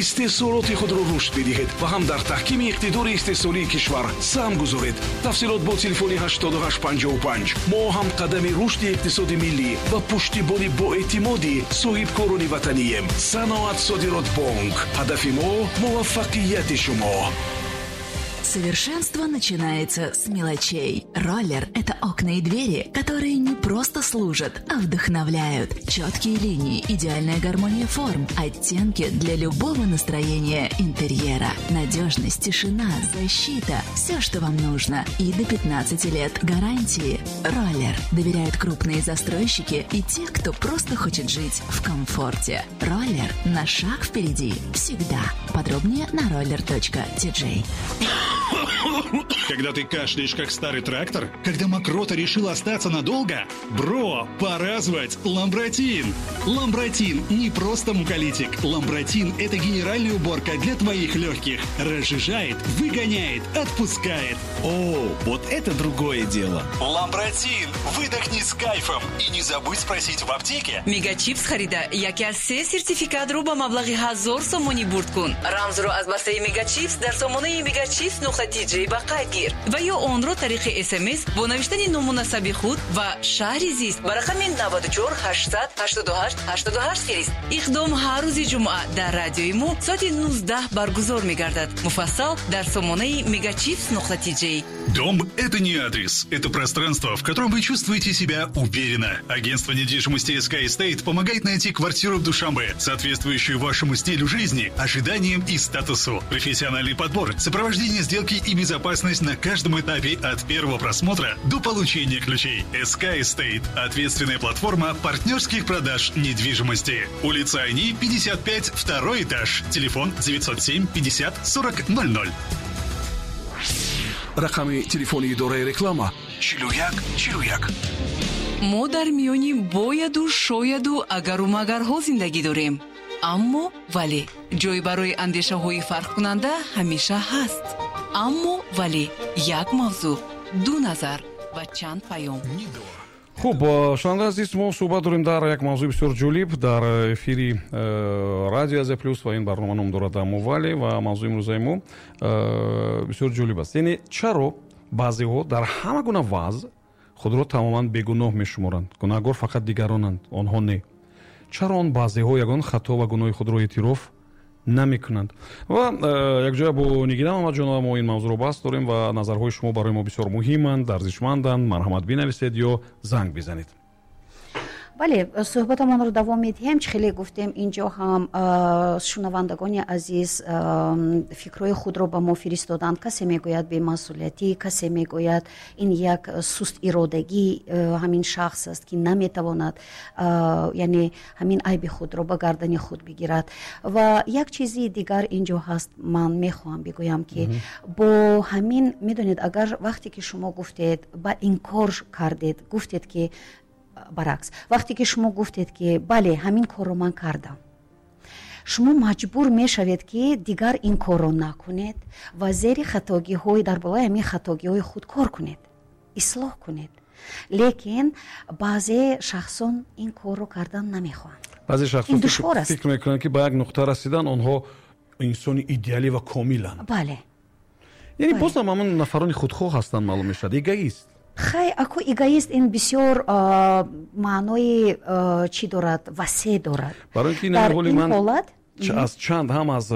Истеҳсолоти худро рушд бидиҳед ва ҳам дар таҳкими иқтидори истеҳсолии кишвар саҳм гузоред. Тафсилот бо телефони 8855. Мо ҳамқадами рушди иқтисоди миллӣ ва пуштибони боэътимоди соҳибкорони ватанием. Саноат Содирот Бонк, ҳадафи мо муваффақияти шумо. Совершенство начинается с мелочей. Роллер – это окна и двери, которые не просто служат, а вдохновляют. Четкие линии, идеальная гармония форм, оттенки для любого настроения интерьера. Надежность, тишина, защита – все, что вам нужно. И до 15 лет гарантии. Роллер. Доверяют крупные застройщики и те, кто просто хочет жить в комфорте. Роллер на шаг впереди. Всегда. Подробнее на roller.tj. Когда ты кашляешь, как старый трактор? Когда мокрота решила остаться надолго? Бро, пора звать Ламбратин! Ламбратин не просто муколитик. Ламбратин – это генеральная уборка для твоих легких. Разжижает, выгоняет, отпускает. О, вот это другое дело. Ламбратин! Выдохни с кайфом и не забудь спросить в аптеке. Мегачипс харида яке аз се сертификатро ба маблағи 1000 сомонӣ бурд кун. Рамзро аз бастаи Мегачипс дар сомонаи мегачипс.тj ба қайд гир ва ё онро тариқи СМС бо навиштани ному насаби худ ва шаҳри зист ба рақами 94 888 88 фирист. Иқдом ҳар рӯзи ҷумъа дар радиои мо соати 19 баргузор мегардад. Муфассал дар сомонаи мегачипс.тj. Дом – это не адрес, это пространство, в котором вы чувствуете себя уверенно. Агентство недвижимости Sky Estate помогает найти квартиру в Душанбе, соответствующую вашему стилю жизни, ожиданиям и статусу. Профессиональный подбор, сопровождение сделки и безопасность на каждом этапе от первого просмотра до получения ключей. SK Estate – ответственная платформа партнерских продаж недвижимости. Улица Айни, 55, второй этаж. Телефон 907 50 40 00. Рақами телефони идораи реклама: 41 41. Мо дар миёни бояду шояду агару магарҳо зиндагӣ дорем, аммо вале ҷой барои андешаҳои фарқкунанда ҳамеша ҳаст. Аммо вале як мавзӯъ, ду назар ва чанд паём. Хуб, шунавандаи азиз, мо суҳбат дорем дар як мавзӯи бисёр ҷолиб дар эфири радио Азия Плюс ва ин барнома ном дорад «Аммо вале» ва мавзӯи имрӯзаи мо бисёр ҷолиб аст, яъне чаро баъзеҳо дар ҳама гуна вазъ худро тамоман бегуноҳ мешуморанд, гунаҳгор фақат дигаронанд, онҳо не. Чаро он баъзеҳо ягон хато ва гуноҳи худро эътироф намекунанд? Ва якҷоя бо Нигина Муҳаммадҷонова мо ин мавзӯъро баҳс дорем ва назарҳои шумо барои мо бисёр муҳиманд, арзишманданд. Марҳамат, бинависед ё занг бизанед. Бале, суҳбатамонро давом медиҳем. Чӣ хеле гуфтем, инҷо ҳам шунавандагони азиз фикрҳои худро ба мо фиристоданд. Касе мегӯяд бемасъулиятӣ, касе мегӯяд, ин як суст иродагӣ ҳамин шахс аст, ки наметавонад, яъне ҳамин айби худро ба гардани худ бигирад. Ва як чизи дигар инҷо ҳаст, ман мехоҳам бигӯям, ки бо ҳамин, медонед, агар вақте ки шумо гуфтед, ба инкор кардед, гуфтед, ки баръакс, вақте ки шумо гуфтед, ки бале, ҳамин корро ман кардам, шумо маҷбур мешавед, ки дигар ин корро накунед ва зери хатогиҳои, дар болои ҳамин хатогиҳои худ кор кунед, ислоҳ кунед. Лекин баъзе шахсон ин корро кардан намехоҳанд. Баъзе шахсон фикр мекунанд, ки ба як нуқта расидан, онҳо инсони идеалӣ ва комиланд. Бале. Яъне боз ҳам ҳамон нафарони худхоҳ ҳастанд, маълум мешавад, эгоист. Хай, аку эгоист ин бисёр маънои чӣ дорад, васеъ дорад. Барои ки ин ман аз чанд, ҳам аз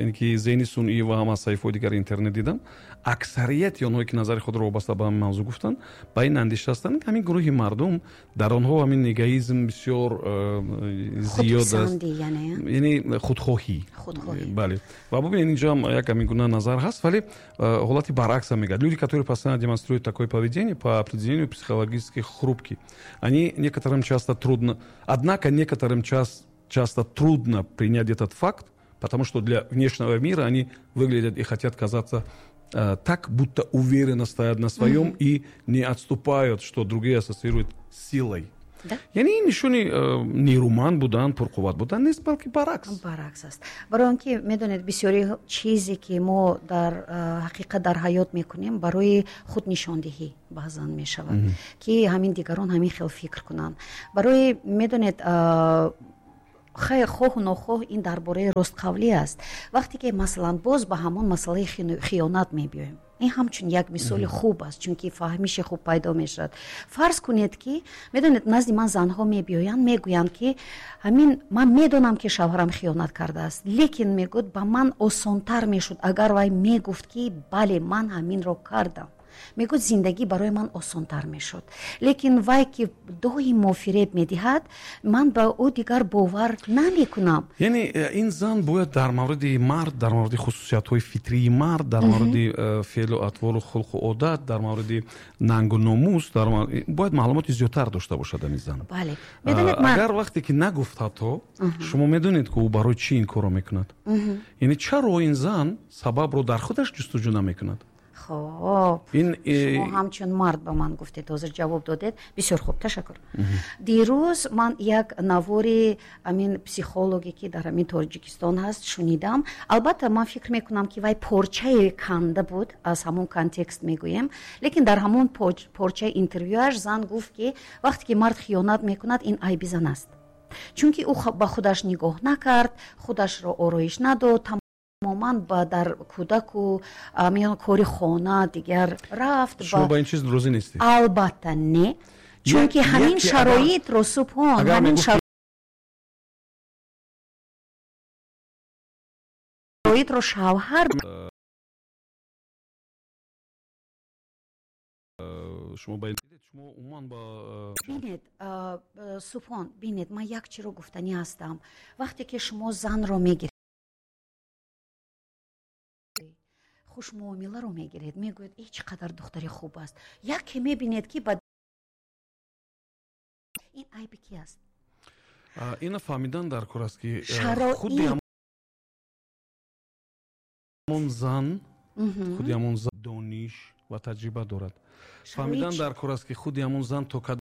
ин ки зеҳни сунъӣ ва ҳам аз саҳифаҳои дигари интернет дидам, аксарияти онҳое, ки назари худро вобаста ба ҳамин мавзӯъ гуфтанд, ба ин андеша ҳастанд, ҳамин гурӯҳи мардум, дар онҳо ҳамин эгоизм бисёр зиёд аст, яъне худхоҳӣ. Бале, ва бубинед, инҷо ҳам як ҳамин гуна назар ҳаст, вале ҳолати баръакс ҳам мегӯяд: люди, которые постоянно демонстрируют такое поведение, по определению психологически хрупки. Они некоторым часто трудно, однако некоторым часто трудно принять этот факт, потому что для внешнего мира они выглядят и хотят казаться так, будто уверенно стоят на своем и не отступают, что другие ассоциируют с силой. Яъне ин нишони нерӯманд будан, пурқувват будан нест, балки баръакс. Баръакс аст, барои он ки, медонед, бисёри чизе, ки мо дар ҳақиқат дар ҳаёт мекунем, барои худнишондиҳӣ баъзан мешавад, ки ҳамин дигарон ҳамин хел фикр кунанд. Барои, медонед, Хоҳу нохоҳ ин дар бораи ростқавлӣ аст. Вақте ки, масалан, боз ба ҳамон масъалаи хиёнат мебиёем, ин ҳамчун як мисоли хуб аст, чунки фаҳмиши хуб пайдо мешавад. Фарз кунед, ки медонед, назди ман занҳо мебиёянд, мегӯянд, ки ҳамин ман медонам, ки шавҳарам хиёнат кардааст, лекин, мегӯяд, ба ман осонтар мешуд, агар вай мегуфт, ки бале, ман ҳаминро кардам. Мегӯяд, зиндагӣ барои ман осонтар мешуд, лекин вай ки доимо фиреб медиҳад, ман ба ӯ дигар бовар намекунам. Яъне ин зан бояд дар мавриди мард, дар мавриди хусусиятҳои фитрии мард, дар мавриди феълу атвору хулқу одат, дар мавриди нангу номус бояд маълумоти зиёдтар дошта бошад ин зан. Бале. Агар вақте ки нагуфт, ҳатто шумо медонед, ки ӯ барои чӣ ин корро мекунад. Яъне чаро ин зан сабабро дар худаш ҷустуҷӯ намекунад? Хоб, шумо ҳамчун мард ба ман гуфтед, ҳозир ҷавоб додед, бисёр хуб, ташаккур. Дирӯз ман як навори ҳамин психологе, ки дар ҳамин Тоҷикистон ҳаст, шунидам. Албатта, ман фикр мекунам, ки вай порчае канда буд, аз ҳамон контекст мегӯем, лекин дар ҳамон порчаи интервюаш зан гуфт, ки вақте ки мард хиёнат мекунад, ин айби зан аст, чунки ӯ ба худаш нигоҳ накард, худашро ороиш надод, тамоман ба дар кӯдаку кори хона дигар рафт. Шумо ба ин чиз розӣ нестед? Албатта, не, чунки ҳамин шароитро, Субҳон, ҳамин шароитро шавҳар Шумо ба шумо умуман ба Бинед, Субҳон, бинед, ман як чиро гуфтанӣ ҳастам. Вақте ки шумо занро мегиред, хушмуомиларо мегиред, мегӯяд, э, чӣ қадар духтари хуб аст, яке мебинед, ки ба ин айби ки аст? Ина фаҳмидан дар кор аст, ки худи ҳамон зан, худи ҳамон зан дониш ва таҷриба дорад. Фаҳмидан дар кор аст, ки худи ҳамон зан то кадом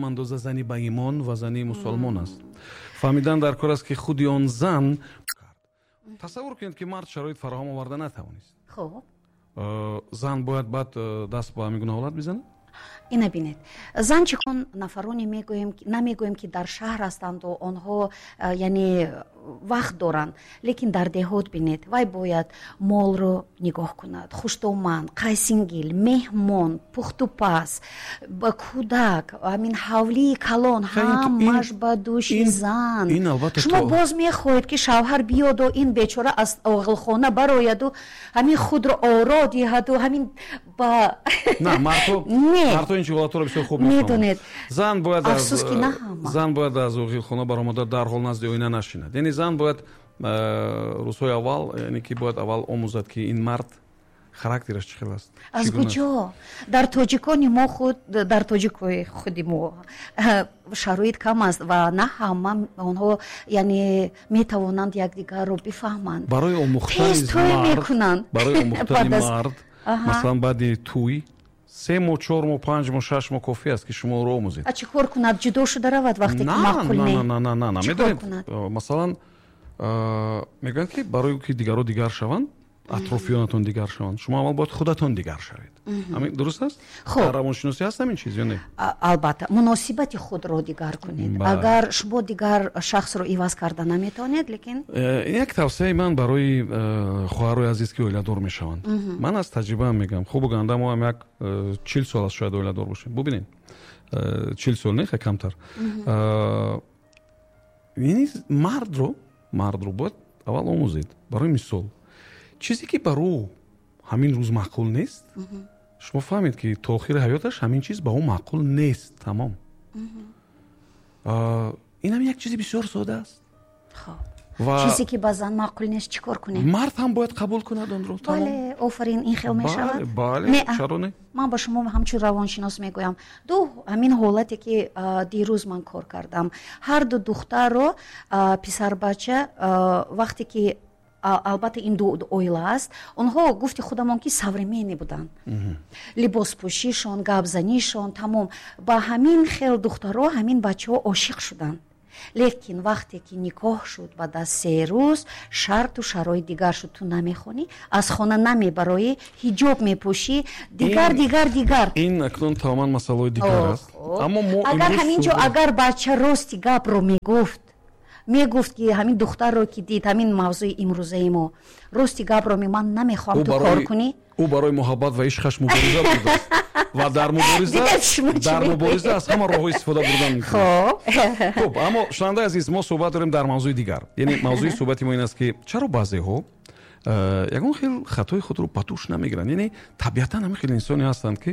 андоза зани баимон ва зани мусулмон аст. Фаҳмидан дар кор аст, ки худи он зан, тасаввур кунед, ки мард шароит фароҳам оварда натавонист. Хуб, зан бояд баъд даст ба ҳамин гуна ҳолат бизанад? Ина бинед, зан чӣ кон нафароне мегӯем, намегӯем, ки дар шаҳр ҳастанду онҳо, яъне, вақт доранд, лекин дар деҳот бинед, вай бояд молро нигоҳ кунад, хуштоман, қайсингил, меҳмон, пухтупаз, ба кӯдак, ҳамин ҳавлии калон, ҳамаш ба дӯши зан. Шумо боз мехоҳед, ки шавҳар биёду ин бечора аз оғилхона барояду ҳамин худро оро диҳаду ҳамин ба На, мардҳо ин ҳолатҳоро бисёр хуб медонед. Зан бояд Афсӯс, ки на ҳама. Зан бояд аз оғилхона баромада дарҳол назди оина нашинад. Яъне зан бояд рӯзҳои аввал, яъне ки бояд аввал омӯзад, ки ин мард характераш чӣ хел аст. Аз куҷо? Дар тоҷикони мо худ, дар тоҷикои худи мо шароит кам аст ва на ҳама онҳо, яъне, метавонанд якдигарро бифаҳманд. Барои омӯхтани Тез тӯй мекунанд. Барои омӯхтани мард, масалан, баъди тӯй 3 моҳ, 4 моҳ, 5 моҳ, 6 моҳ кофӣ аст, ки шумо ӯро омӯзед. А чӣ кор кунад? Ҷудо шуда равад, вақте ки маъқул не? На, на, на, на, медонед, масалан, мегӯянд, ки барои ки дигарро дигар шаванд, атрофиёнатон дигар шаванд, шумо аввал бояд худатон дигар шавед. Ҳамин дуруст аст? Хуб. Дар равоншиносӣ ҳаст ҳамин чиз ё не? Албатта, муносибати худро дигар кунед. Агар шумо дигар шахсро иваз карда наметавонед, лекин Ин як тавсияи ман барои хоҳарои азиз, ки оиладор мешаванд. Ман аз таҷрибаам мегӯям, хубу ганда мо ҳам як 40 сол аст, шояд оиладор бошем. Бубинед, 40 сол не, хе камтар. Яъне мардро бояд аввал омӯзед. Барои мисол, чизе ки бар ӯ ҳамин рӯз маъқул нест, шумо фаҳмед, ки то охири ҳаёташ ҳамин чиз ба ӯ маъқул нест, тамом. Инам як чизи бисёр сода аст. Чизе ки ба зан маъқул нест, чӣ кор кунем? Мард ҳам бояд қабул кунад онро. Бале, офарин, ин хел мешавад. Бале, чаро не? Ман ба шумо ҳамчун равоншинос мегӯям. Ду ҳамин ҳолате, ки дирӯз ман кор кардам, ҳарду духтарро писарбача, вақте ки, албатта, ин ду оила аст, онҳо, гуфти худамон, ки современный буданд, либоспӯшишон, гапзанишон, тамом. Ба ҳамин хел духтаро ҳамин бачаҳо ошиқ шуданд. Лекин вақте ки никоҳ шуд, баъд аз 3 рӯз шарту шароит дигар шуд. Ту намехонӣ, аз хона намебароӣ, ҳиҷоб мепӯшӣ, дигар, дигар, дигар. Ин акнун тамоман масъалаҳои дигар аст. Аммо мо агар ҳамин ҷо агар бача рости гапро мегуфт ки ҳамин духтарро ки дид, ҳамин мавзӯи имрӯзаи мо, рости гапро ман намехоҳам ту кор кунӣ. Ӯ барои муҳаббат ва ишқаш мубориза бурдааст ва дар мубориза аз ҳама роҳҳо истифода бурдан мумкин. Хуб, аммо шунавандаи азиз, мо суҳбат дорем дар мавзӯи дигар. Яъне мавзӯи суҳбати мо ин аст ки чаро баъзеҳо ягон хел хатои худро ба дӯш намегиранд. Яъне табиатан ҳамин хел инсоне ҳастанд ки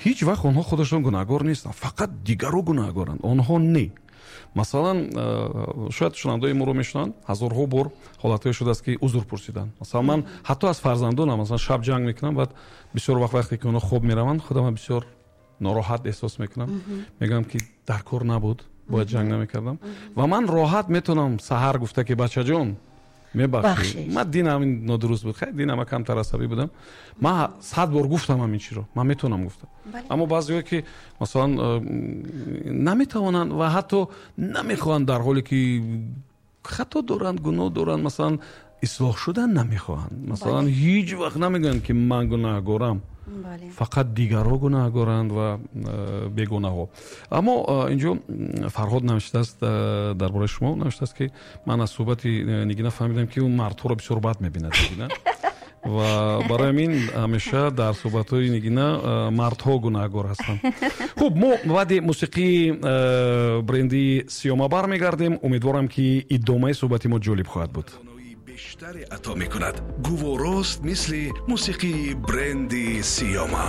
ҳеҷ вақт онҳо худашон гунаҳгор нестанд, фақат дигарро гунаҳгоранд, онҳо не. Масалан, шояд шунавандаҳои моро мешунаванд, ҳазорҳо бор ҳолатҳое шудааст ки узр пурсиданд. Масалан, ман ҳатто аз фарзандонам масалан шаб ҷанг мекунам, баъд бисёр вақт вақте ки онҳо хоб мераванд, худамро бисёр нороҳат эҳсос мекунам. Мегӯям ки дар кор набуд, бояд ҷанг намекардам. Ва ман роҳат метавонам саҳар гуфта ки бачаҷон, мебахшед, ман динам ин нодуруст буд, хай динам камтар асабӣ будам, ман 100 бор гуфтам ҳамин чиро, ман метавонам гуфтам. Аммо баъзеҳое ки масалан наметавонанд ва ҳатто намехоҳанд, дар ҳоле ки хато доранд, гуноҳ доранд, масалан ислоҳ шудан намехоҳанд, масалан ҳеҷ вақт намегӯянд ки ман гунаҳгорам, фақат дигарҳо гунаҳгоранд ва бегунаҳҳо. Аммо инҷо Фарҳод навиштааст дар бораи шумо, навиштааст ки ман аз суҳбати Нигина фаҳмидам ки ӯ мардҳоро бисёр бад мебинад, Нигина, ва барои ҳамин ҳамеша дар суҳбатҳои Нигина мардҳо гунаҳгор ҳастанд. Хуб, мо баъди мусиқии бренди Сиёма бармегардем. Умедворам ки идомаи суҳбати мо ҷолиб хоҳад буд. Бештаре ато мекунад. Гуворост мисли мусиқии бренди Сиёма.